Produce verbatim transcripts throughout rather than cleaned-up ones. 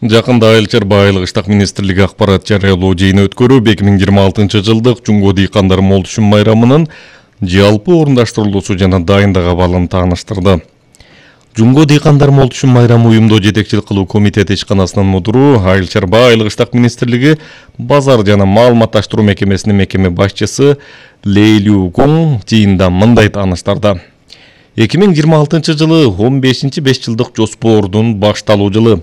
Жакында Айыл чарба айылык иштак министрлиги акпарат жарыялоо жыйыны өткөрүп, эки миң жыйырма алтынчы жылдык Жумго дыйкандар мол түшүм майрамынын жалпы орундаштырылуусу жана дайындык абалын тааныштырды. Жумго дыйкандар мол түшүм майрамы уюмдо жетекчилик кылуу комитети ишканасынын мудуру, Айыл чарба айылык иштак министрлиги базар жана маалыматташтыруу мекемесинин мекеме башчысы Лейлүү Кун жыйында мындай тааныштырды. эки миң жыйырма алтынчы жылы он бешинчи беш жылдык жоспордун башталуу жылы.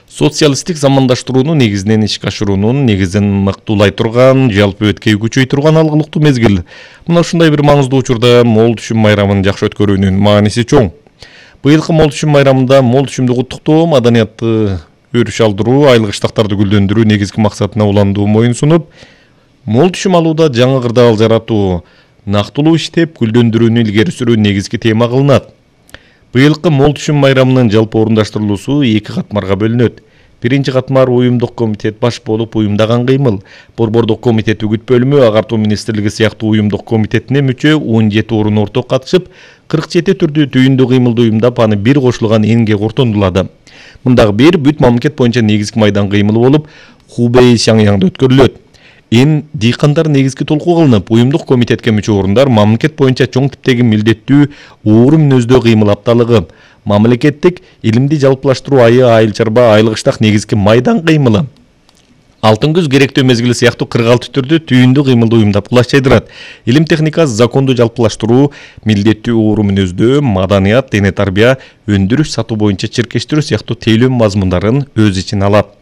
Социалисттик замандаштырууну негизинен ишке ашыруунун негизин мыктуулай турган, жалпы өткөй күчөй турган алгылыктуу мезгил. Мына ушундай бир маңыздуу учурда мол түшүм майрамын жакшы өткөрүүнүн мааниси чоң. Быйылкы мол түшүм майрамында мол түшүмдү куттуктоо, маданиятты өрүш алдыруу, айылык иштактарды гүлдөндүрүү негизги максатына уландуу моюн сунуп, мол түшүм алууда жаңы кырдаал жаратуу, нактылуу иштеп гүлдөндүрүүнү илгери сүрүү негизги тема кылынат. Быйылкы мол түшүм майрамынын жалпы орундаштырылуусу эки катмарга бөлүнөт. Биринчи катмар уюмдук комитет баш болуп уюмдаган кыймыл. Борбордук комитет үгүт бөлүмү, агартуу министрлиги сыяктуу уюмдук комитетине мүчө он жети орун орток катышып, кырк жети түрдүү түйүндүү кыймылды уюмдап, аны бир кошулган энге корутундулады. Мындагы бир бүт мамлекет боюнча негизги майдан кыймылы болуп, Хубэй Шаңяңда өткөрүлөт. Эн дыйкандар негизги толкуу кылынып, уюмдук комитетке мүчө орундар мамлекет боюнча чоң типтеги милдеттүү оор мүнөздөө кыймыл апталыгы, мамлекеттик илимди жалпылаштыруу айы айыл чарба айылык иштак негизги майдан кыймылы, алтын күз керектөө мезгили сыяктуу кырк алты түрдүү түйүндүү кыймылды уюмдап кулаш жайдырат. Илим техника, законду жалпылаштыруу, милдеттүү оор мүнөздөө, маданият, дене тарбия, өндүрүш, сатуу боюнча чиркештирүү сыяктуу тейлөө мазмундарын өз ичине алат.